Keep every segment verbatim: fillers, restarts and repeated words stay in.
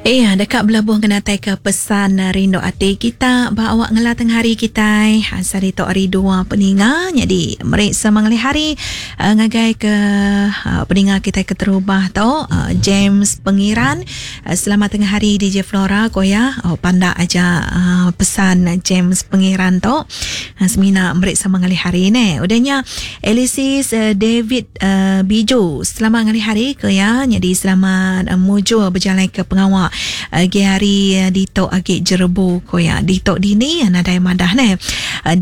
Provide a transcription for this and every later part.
Iya, dekat belabuh ngenatai ke pesan rindu ati kita ba awak ngela tengah hari kita. Sehari tu hari dua peninga. Jadi meri sama ngalih hari uh, ngagai ke uh, peninga kita ke terubah tu uh, James Pengiran. Uh, selamat tengah hari D J Flora koya. Oh pandak aja uh, pesan James Pengiran tu. Uh, semina meri sama ngalih hari ne. Udahnya Elisis uh, David uh, Biju. Selamat ngalih hari koya. Jadi selamat uh, mujur berjalan ke pengawak agi hari ditok agi jerebu koya ditok dini nadai madah ne.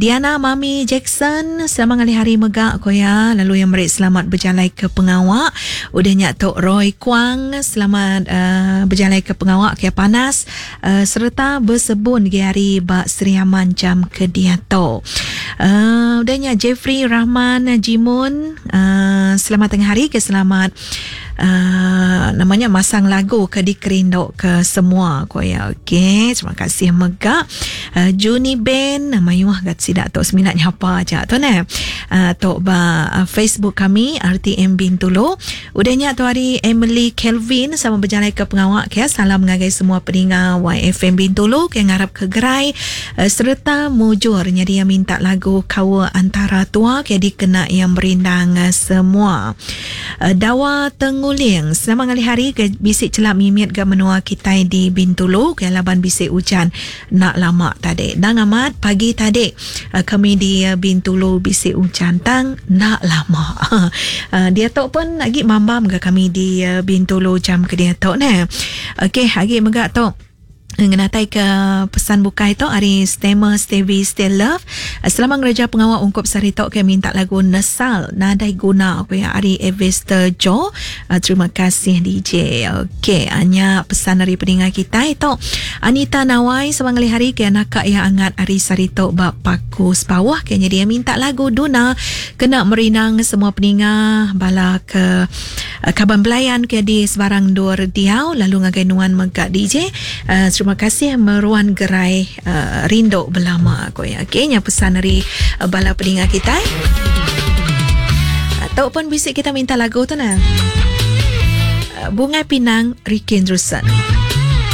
Diana Mami Jackson selamat ngalih hari mega koya lalu yang meri selamat berjalai ke pengawak. Udahnya tok Roy Kuang selamat uh, berjalai ke pengawak ke panas uh, serta bersebun gi hari ba Sri Aman jam ke diato. Uh, udahnya Jeffrey Rahman Jimun uh, selamat tengah hari ke selamat Uh, namanya masang lagu ke dikerinduk ke semua ko ya. Okey, terima kasih mega uh, Juni Ben mayuh gat sidak tok seminat nyapa aja tu ne. Uh, tok ba uh, Facebook kami R T M Bintulu. Udahnya tu hari Emily Kelvin sama berjalan ke pengawak ke salam ngagai semua peninga Y F M Bintulu ke ngarap ke gerai uh, serta mujurnya dia minta lagu Kawa Antara Tua ke dikena yang berindang uh, semua. Uh, Dawa Teng Nguling selamat ngalih hari ke bisik celap mimit ke menua kita di Bintulu ke laban bisik hujan nak lama tadi. Dan amat pagi tadi kami di Bintulu bisik hujan tang nak lama. Dia tok pun lagi mambam ke kami di Bintulu jam ke dia tok ne. Okey, lagi megak tok ngenatai ke pesan bukai tu hari Stemer Stevie Stay Love. Selamat ngereja pengawal ungkup sari tok ke minta lagu Nesal Nadai Guna aku ya hari Evester Joe. Terima kasih D J. Okey, hanya pesan dari pendengar kita itu Anita Nawai selamat ngalih hari ke anak yang angat hari sari tok bab paku sepawah kayaknya dia minta lagu Duna kena merinang semua peninga bala ke kaban belayan ke di sebarang dur diau lalu ngagai nuan megak D J. Uh, terima kasih meruan gerai uh, rinduk belama aku ya. Okey, nya pesan dari uh, bala peninga kita. Atau pun bisik kita minta lagu tu nah. Uh, Bunga Pinang Ricky Andrewson.